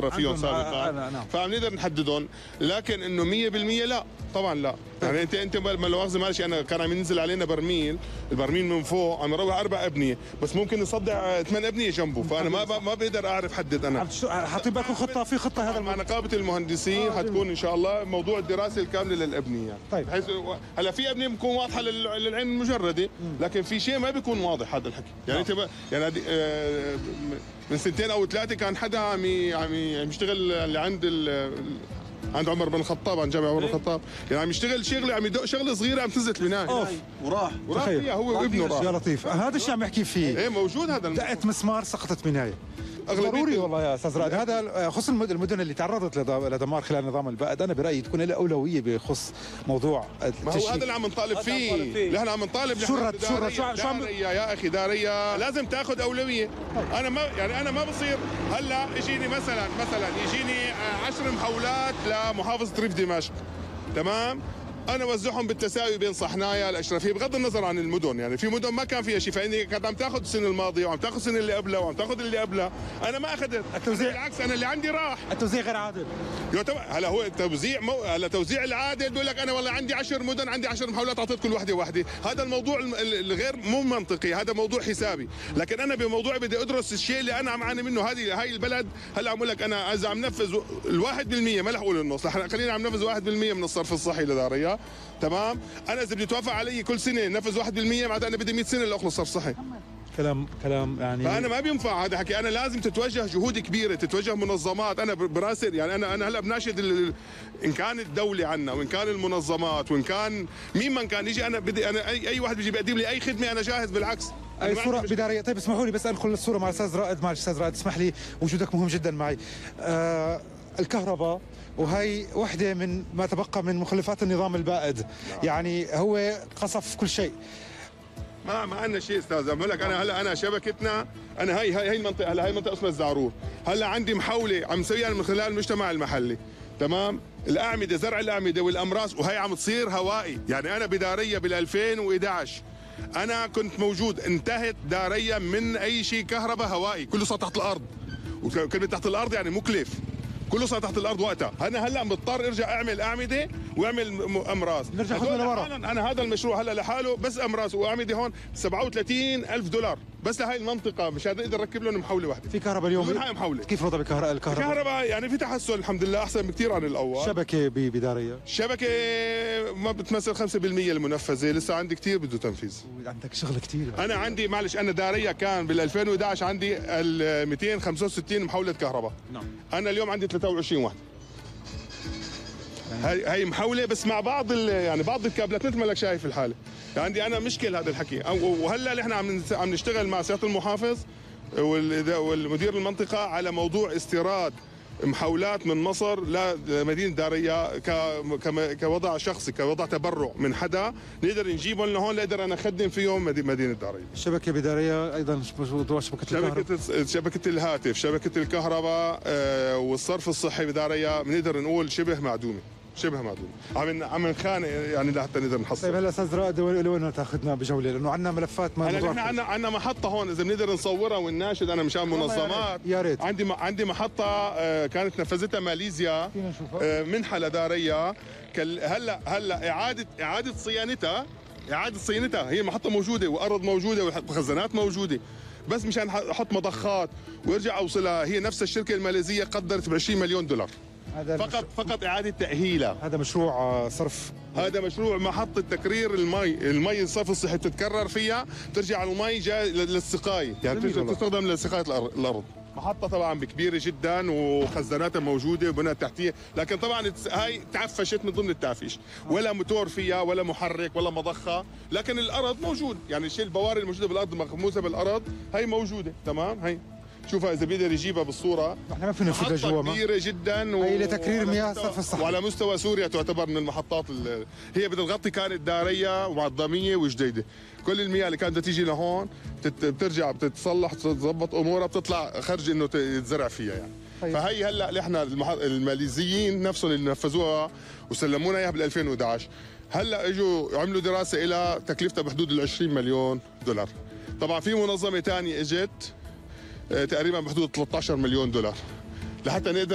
فيهم سابقا، نعم. فعم نقدر نحددهم، لكن انه 100% لا طبعا لا. يعني انت ما لو مؤاخذه معلش، انا كان عم ينزل علينا برميل، البرميل من فوق عم يروح 4 ابنيه، بس ممكن يصدع 8 ابنيه جنبه، فانا ما بقدر اعرف حدد. انا حاطين بالكم خطه، في خطه هذا مع نقابه المهندسين حتكون ان شاء الله موضوع الدراسه الكامله للابنيه يعني. طيب بحيث هلا في ابنيه بتكون واضحه للعين المجرده، لكن في شيء ما بيكون واضح هذا الحكي. يعني انت يعني من 2 أو 3 كان حدا عم يشتغل اللي عند عمر بن الخطاب، عن جامع عمر بن الخطاب، يعني عم يشتغل شغله، عم يدق شغله صغيره، عم تنزل البنايه وراح فيها هو وابنه راح. يا لطيف، هذا الشيء عم يحكي فيه. ايه موجود هذا دقت مسمار سقطت بنايه. ضروري والله يا استاذ رائد. هذا خصوصا المدن اللي تعرضت لدمار خلال نظام البائد، انا برايي تكون لها اولويه بخص موضوع التشييد. ما هو هذا اللي عم نطالب فيه، نحن عم نطالب. شو يا اخي داريه لازم تاخذ اولويه. انا ما بصير هلا يجيني مثلا يجيني 10 محاولات لمحافظه ريف دمشق، تمام؟ انا وزعهم بالتساوي بين صحنايا الاشرفيه، بغض النظر عن المدن. يعني في مدن ما كان فيها شيء، فاني كانت عم تاخذ السنه الماضيه وعم تاخذ السنه اللي قبلها وعم تاخذ اللي قبلها، انا ما اخذت. التوزيع بالعكس، انا اللي عندي راح. التوزيع غير عادل. هلا هو التوزيع هلا توزيع العادل بيقول لك انا والله عندي 10 مدن، عندي 10 محاولات، اعطيت كل وحده. هذا الموضوع الغير مو منطقي، هذا موضوع حسابي. لكن انا بموضوعي بدي ادرس الشيء اللي انا عم اعاني منه. هاي البلد هلا عم اقول لك انا اذا عم نفذ ال1%، ما رح اقول النص، خلينا عم نفذ 1% من الصرف الصحي لداريا، تمام؟ انا اذا بدي توافق علي كل سنه نفذ 1%، معناتها انا بدي 100 سنه لاخلص صرف صحي. كلام يعني. فانا ما بينفع هذا حكي. انا لازم تتوجه جهود كبيره، تتوجه منظمات. انا براسل يعني انا هلا بناشد ان كان الدوله عنا، وان كان المنظمات، وان كان مين من كان يجي. انا بدي اي واحد بيجي بيقدم لي اي خدمه انا جاهز، بالعكس. اي صوره بداريه. طيب اسمحوا لي بس ادخل الصوره مع الاستاذ رائد. معلش استاذ رائد، اسمح لي، وجودك مهم جدا معي. الكهرباء، وهي وحده من ما تبقى من مخلفات النظام البائد. يعني هو قصف كل شيء. ما عندنا شيء استاذ. بقول لك انا شبكتنا، انا هي المنطقه، هلا هي منطقه اسمها الزعرور. هلا عندي محاوله عم نسويها من خلال المجتمع المحلي، تمام؟ الاعمده، زرع الاعمده والامراس، وهي عم تصير هوائي. يعني انا بداريه بال 2011 انا كنت موجود، انتهت داريه من اي شيء كهرباء هوائي، كله صار تحت الارض. وكلمه تحت الارض يعني مكلف، كله صار تحت الارض وقتها. انا هلا مضطر ارجع اعمل اعمده واعمل امراس. نرجع خطوه لورا. انا هذا المشروع هلا لحاله بس امراس واعمده هون $37,000 بس لهي المنطقه، مشان نقدر نركب لهم محوله واحده. في كهرباء اليوم؟ من هاي محوله. كيف وضع الكهرباء يعني في تحسن الحمد لله، احسن بكثير عن الاول. شبكه بداريه؟ شبكه ما بتمثل 5% المنفذه، لسه عندي كثير بده تنفيذ. عندك شغل كثير. انا عندي معلش، انا داريه كان بال 2011 عندي 265 محوله كهرباء. نعم. انا اليوم عندي 23 واحد. هي محاوله بس مع بعض يعني بعض الكابلات، مثل ما لك شايف الحاله. عندي انا مشكل هذا الحكي. وهلا نحن عم نشتغل مع سياده المحافظ والمدير المنطقه على موضوع استيراد محاولات من مصر لمدينه داريه كوضع شخصي، كوضع تبرع من حدا، نقدر نجيبهم لهون نقدر انا اخدم فيهم مدينه داريه. الشبكه بداريه ايضا موضوع شبكه الهاتف، شبكه الكهرباء والصرف الصحي بداريه بنقدر نقول شبه معدومه. عم نخانق يعني لحتى نقدر نحصل. طيب هلا استاذ رائد، لوين تاخذنا بجوله؟ لانه عندنا ملفات ما نحن عندنا محطه هون اذا بنقدر نصورها ونناشد. انا مشان منظمات يا ريت. عندي محطه كانت نفذتها ماليزيا، منحه لداريه. هلا اعاده صيانتها هي محطه موجوده وارض موجوده وخزانات موجوده، بس مشان احط مضخات وارجع اوصلها. هي نفس الشركه الماليزيه قدرت ب$20 مليون فقط اعاده تاهيلها. هذا مشروع صرف، هذا مشروع محطه تكرير المي الصرف الصحي بتتكرر فيها، ترجع المي جاي للسقايه، يعني تستخدم لسقايه الارض. محطه طبعا كبيره جدا وخزاناتها موجوده وبنى تحتيه، لكن طبعا هاي تعفشت من ضمن التعفيش، ولا موتور فيها ولا محرك ولا مضخه، لكن الارض موجود. يعني الشيء البواري الموجوده بالارض مخموسه بالارض هي موجوده، تمام؟ هي شوفها اذا بيقدر يجيبها بالصوره. احنا ما فينا نفوت لجوا، كبيره جدا هي لتكرير مياه الصرف الصحي، وعلى مستوى سوريا تعتبر من المحطات هي بدها تغطي. كانت داريه ومعظميه وجديده، كل المياه اللي كانت تيجي لهون بترجع بتتصلح تظبط امورها، بتطلع خرج انه يتزرع فيها يعني. طيب. فهي هلا احنا الماليزيين نفسهم اللي نفذوها وسلمونا اياها بال 2011 هلا اجوا عملوا دراسه الى تكلفتها بحدود ال$20 مليون. طبعا في منظمه ثانيه اجت تقريبا بحدود $13 مليون لحتى نقدر